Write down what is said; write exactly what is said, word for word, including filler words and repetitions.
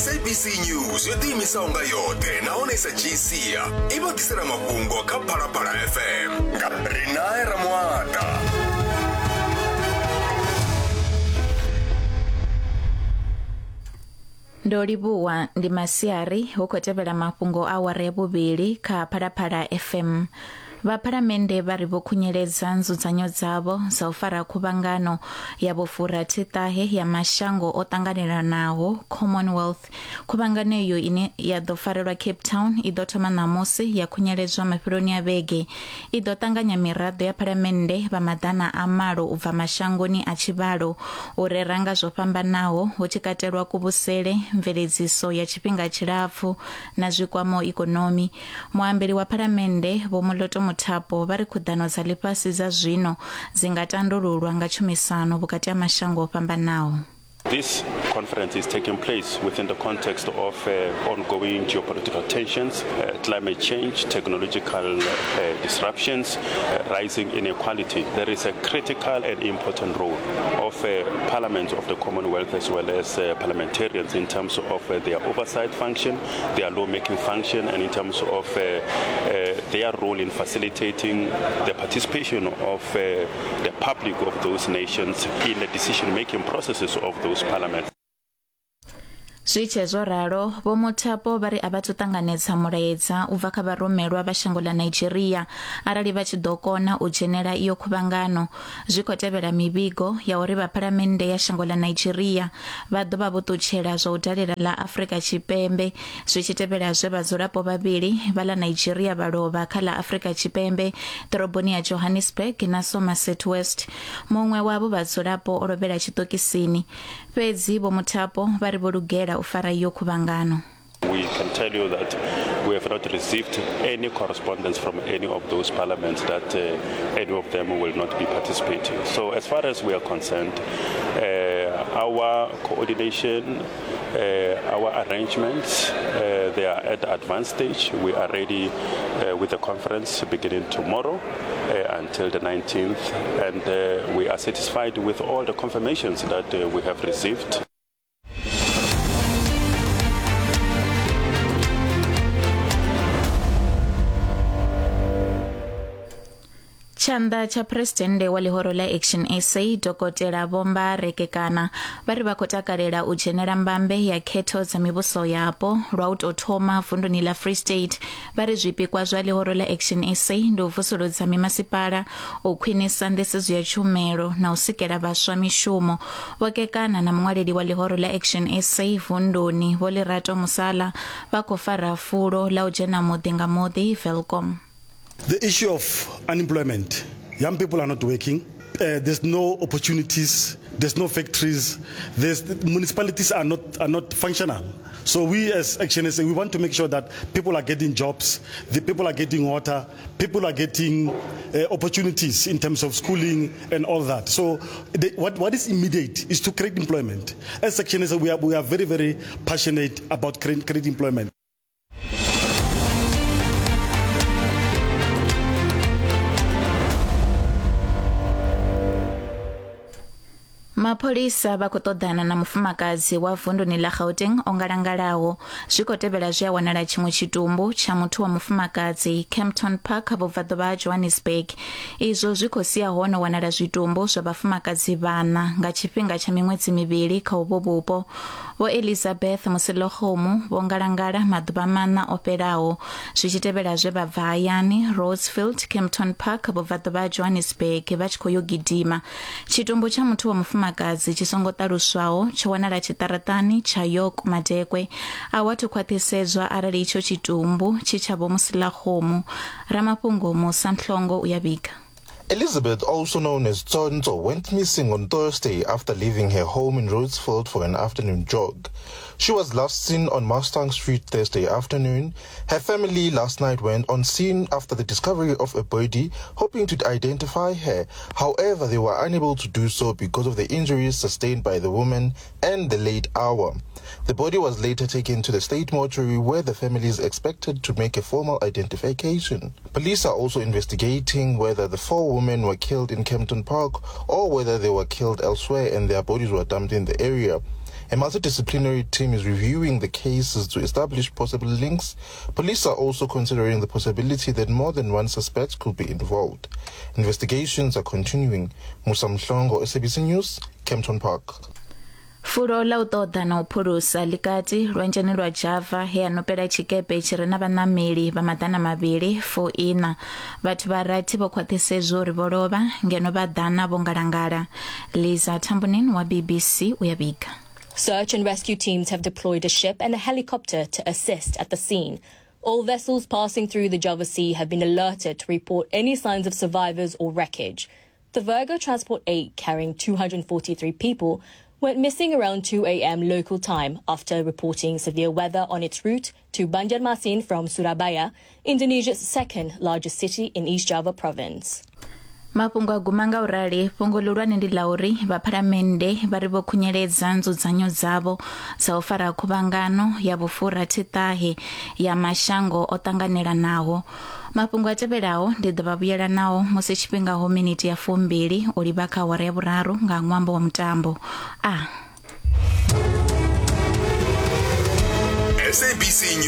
S A B C News yo ḓiimisaho nga yoṱhe nahone sa dzhii sia i vha ḓisela mafhungo kha Phalaphala F M nga Rinae Ramuata. Ndo livhuwa, ndi masiari, hu khou tevhela mafhungo a awara ya vhuvhili kha Phalaphala F M. Vha phalamennde vha ri vho khunyeledza nzudzanyo dzavho dza u fara khuvhangano ya vhufurathi-ṱahe ya mashango o ṱanganelanaho, Commonwealth. Khuvhangano iyo ine ya ḓo farelwa Cape Town i ḓo thoma ṋamusi ya khunyeledzwa mafheloni a vhege. I ḓo ṱanganya miraḓo ya phalamennde vha maḓana a malo u bva mashangoni a tshivhalo u rera nga zwo fhambanaho, hu tshi katelwa kuvhusele, mveledziso ya tshifhinga tshilapfu na zwikwamaho ikonomi. Muambeli wa phalamennde Vho Moloto Mothapo vha ri khuḓano dza ḽifhasi dza zwino dzi nga tandululwa nga tshumisano vhukati ha mashango o fhambanaho. This conference is taking place within the context of uh, ongoing geopolitical tensions, uh, climate change, technological uh, disruptions, uh, rising inequality. There is a critical and important role of uh, parliaments of the Commonwealth as well as uh, parliamentarians in terms of uh, their oversight function, their lawmaking function, and in terms of uh, uh, their role in facilitating the participation of uh, the public of those nations in the decision-making processes of those parliaments. Zwi tshe zwo ralo, Vho Mothapo vha ri a vha thu ṱanganedza mulaedza u bva kha vharumelwa vha shango ḽa Nigeria arali vha tshi ḓo kona u dzhenela iyo khuvhangano. Zwi khou tevhela mivhigo ya uri vha phalamennde ya shango ḽa Nigeria vha ḓo vha vho ṱutshela zwa u dalela ḽa Afrika Tshipembe, zwi tshi tevhela zwe vhadzulapo vhavhili vha ḽa Nigeria vha lovha kha ḽa Afrika Tshipembe, ḓoroboni ya Johannesburg na Somerset West. Muṅwe wavho vhadzulapo o lovhela tshiṱokisini. Fhedzi Vho Mothapo vha ri vho lugela u fara iyo khuvhangano. We can tell you that we have not received any correspondence from any of those parliaments that uh, any of them will not be participating. So as far as we are concerned, uh, our coordination, uh, our arrangements, uh, they are at the advanced stage. We are ready uh, with the conference beginning tomorrow uh, until the nineteenth, and uh, we are satisfied with all the confirmations that uh, we have received. Tshanḓa tsha phuresidennde wa ḽihoro ḽa Action S A, Dokotela Vho Mbare Kekana, vha ri vha khou takalela u dzhenela mbambe ya khetho dza mivhuso yapo lwa u tou thoma vunduni ḽa Free State. Vha ri zwipikwa zwa ḽihoro ḽa Action S A ndi u vusuludza mimasipala, u khwinisa nḓisedzo ya tshumelo na u sikela vhaswa mishumo. Vho Kekana na muṅwaleli wa ḽihoro ḽa Action S A vunduni Vho Lerato Musala vha khou fara fulo ḽa u dzhena muḓi nga muḓi Welkom. The issue of unemployment, young people are not working. Uh, there's no opportunities. There's no factories. There's, municipalities are not are not functional. So we as Action S A, we want to make sure that people are getting jobs, the people are getting water, people are getting uh, opportunities in terms of schooling and all that. So the, what, what is immediate is to create employment. As Action S A, we are, we are very, very passionate about create, create employment. Mapholisa vha khou ṱoḓana na mufumakadzi wa vunduni ḽa Gauteng o ngalangalaho. Zwi khou tevhela zwi a wanala tshiṅwe tshitumbu tsha muthu wa mufumakadzi Kempton Park, vhubvaḓuvha ha Johannesburg. Izwo zwi khou sia ho no wanala zwitumbu zwa vhafumakadzi vhaṋa nga tshifhinga tsha miṅwedzi mivhili kha uvho vhupo. Vho Elizabeth Moselogomo vho ngalangala maḓuvha maṋa o fhelaho, zwi tshi tevhela zwe vha bva hayani Rhodesfield, Kempton Park, vhubvaḓuvha ha Johannesburg vha tshi khou yo gidima. Tshitumbu tsha muthu wa mufumakadzi tshi songo ṱaluswaho tsho wanala tshiṱaraṱani tsha York Madekwe. A hu athu khwaṱhisedzwa arali itsho tshitumbu tshi tsha Vho Moselakgomo. Ramafhungo Musa Mhlongo u ya vhiga. Elizabeth, also known as Tsonzo, went missing on Thursday after leaving her home in Rhodesfield for an afternoon jog. She was last seen on Mustang Street Thursday afternoon. Her family last night went on scene after the discovery of a body, hoping to identify her. However, they were unable to do so because of the injuries sustained by the woman and the late hour. The body was later taken to the state mortuary, where the family is expected to make a formal identification. Police are also investigating whether the four women were killed in Kempton Park or whether they were killed elsewhere and their bodies were dumped in the area. A multidisciplinary team is reviewing the cases to establish possible links. Police are also considering the possibility that more than one suspect could be involved. Investigations are continuing. Musa Mhlongo, S A B C News, Kempton Park. Fulo ḽa u ṱoḓa na u phulusa ḽikati lwanzheni lwa Java he a nopela tshikepe tshi re na vhaṋameli vha maḓana mavhili fu ina. Vhathu vha rathi vho khwaṱhisedzwa uri vho lovha ngeno vha ḓana vho ngalangala. Liza Tambunin wa B B C u ya vhiga. Search and rescue teams have deployed a ship and a helicopter to assist at the scene. All vessels passing through the Java Sea have been alerted to report any signs of survivors or wreckage. The Virgo Transport eight, carrying two hundred forty-three people, went missing around two a m local time after reporting severe weather on its route to Banjarmasin from Surabaya, Indonesia's second largest city in East Java province. Mafhungo a guma nga u rali. Fhungo ḽihulwane ndi ḽa uri vha phalamennde vha ri vho khunyeledza nzudzanyo dzavho dza u fara khuvhangano ya vhufurathi-ṱahe ya mashango o ṱanganelanaho. Mafhungo a tevhelaho ndi ḓo vha vhuyela nao musi tshifhinga ho miniti ya fumbili u livha kha awara ya vhuraru nga ṅwambo wa mutambo. A S A B C.